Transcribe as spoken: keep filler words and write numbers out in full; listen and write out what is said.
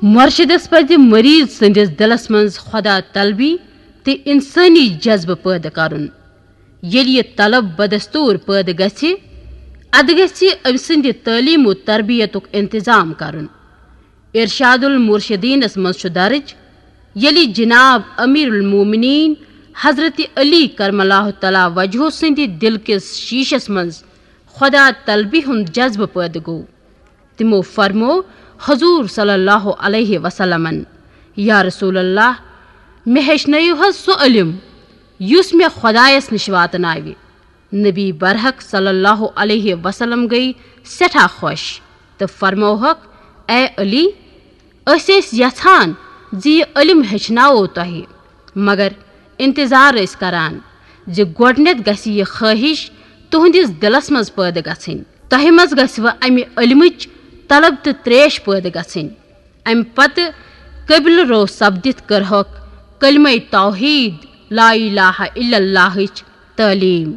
مرشدس پزِ مریض سٕنٛدِس دِلس منٛز خۄدا طلبی تہٕ انسٲنی جذبہٕ پٲدٕ کرُن۔ ییٚلہِ یہِ طلب بدستور پٲدٕ گژھِ، ادٕ گژھِ أمۍ سٕنٛدِ تعلیٖم و تربیتُک انتظام کرُن۔ ارشاد المرشدینس منٛز چھُ درج، ییٚلہِ جناب امیر المومنین حضرت علی کرم اللہ تعالیٰ وجہہ سٕنٛدِ دِل کِس شیٖشس منٛز خۄدا طلبی ہُنٛد جذبہٕ پٲدٕ گوٚو، تِمو فرموو حضور صلی اللہ علیہ وسلمن، یا رسول اللہ، مےٚ ہیٚچھنٲیِو حظ سُہ علم یُس مےٚ خۄدایس نِش واتناوِ۔ نبی برحق صلی اللہ علیہ وسلم گٔیہِ سٮ۪ٹھاہ خۄش تہٕ فرمووہکھ، اے علی، أسۍ ٲسۍ یژھان زِ یہِ علم ہیٚچھناوو تۄہہِ، مگر انتظار ٲسۍ کران زِ گۄڈٕنٮ۪تھ گژھِ یہِ خٲہِش تُہنٛدِس دِلس منٛز پٲدٕ گژھٕنۍ۔ تۄہہِ منٛز گژھِ وۄنۍ امہِ علمٕچ طلب تہٕ تریش پٲدٕ گژھٕنۍ۔ امہِ پتہٕ قبلہٕ رو سپدِتھ کٔرہکھ کلمہ توحید لا الہ الا اللہٕچ تعلیٖم۔